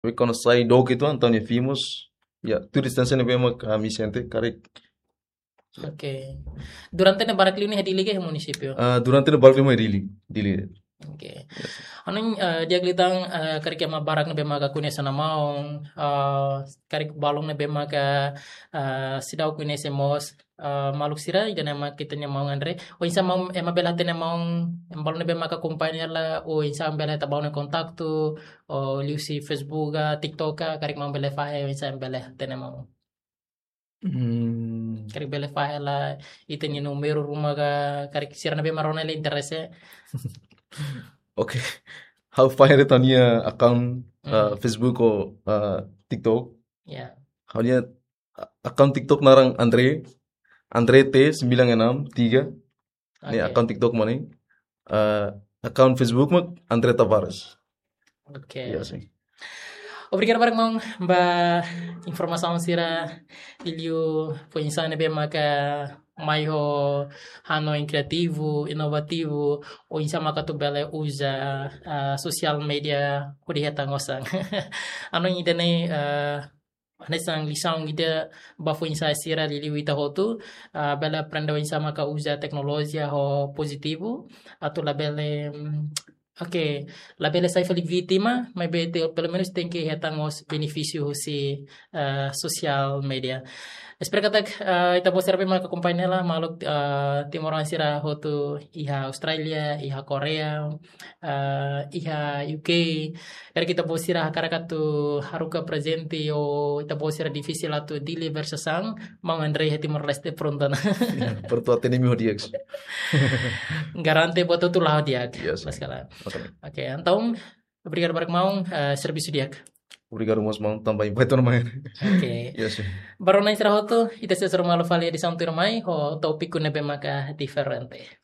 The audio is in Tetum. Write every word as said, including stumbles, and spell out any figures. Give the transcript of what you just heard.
Depois kuandu sai dook uitoan, entaun nia fimos. Ya, tuir distánsia ne'ebé mak ami sente karik. Oke. Durante ne'e barak liu ne'e iha Dili ka iha munisípiu? Ah, durante ne'e barak liu mai Dili, Dili. Oke. Hanoin, eh, di'ak liután, eh, karik ema barak ne'ebé maka koñese ona maun, eh, karik balun ne'ebé maka, eh, seidauk koñese mós, eh, maluk sira, ida-ne'e mak ita-nia maun André. Oinsá maun, ema bele hatene maun, ema balun ne'ebé maka akompaña hela, oinsá bele hetan ba nia kontaktu, ou liuhusi Facebook ka, TikTok ka, karik maun bele fahe, oinsá bele hatene maun. Hmm, Karik bele fahe hela ita-nia númeru ruma ka, karik sira ne'ebé mak rona hela interese. oke. Ha'u fahe de'it ha'u-nia account, ah, Hmm. Facebook ou, ah, TikTok. Ya. Ha'u-nia, ah, account TikTok naran André, André T sembilan enam tiga. Ne'e Oke. Account TikTok mak ne'e. Ah, account Facebook mak André Tavares. Oke. Ya, sin. Obrigadu barak maun ba informasaun sira, liuliu foin-sa'e ne'ebé maka mai ho hanoin kriativu, inovativu, oinsá maka atu bele uza, ah, social media hodi hetan osan. Hanoin ida-ne'e, ah, hanesan lisaun ida ba foin-sa'e sira, liuliu ita hotu, ah, bele aprende oinsá maka uza teknolojia ho pozitivu, atu labele, mm, oke, labele sai fali vítima, maibé te, pelumenus tenke hetan mós benefísiu husi, ah, social media. Espera katak, ah, ita-boot sira ne'ebé maka akompaña hela, maluk, ah, timoroan sira hotu iha Austrália, iha Koreia, ah, iha U K. Karik ita-boot sira hakarak atu haruka prezente ou ita-boot sira difisil atu deliver sasán, maun André iha Timor-Leste prontu ona. Ya, prontu atende imi ho di'ak. Garante buat hotu la'o di'ak. Yes. Maskala. Oke. Oke, entaun, obrigadu barak maun, eh, servisu di'ak. Obrigadu mós maun, tanba invite ona mai. Oke. Yes. Ba rona sira hotu, ita sei hasoru malu fali edisaun tuirmai, ho tópiku ne'ebé maka diferente.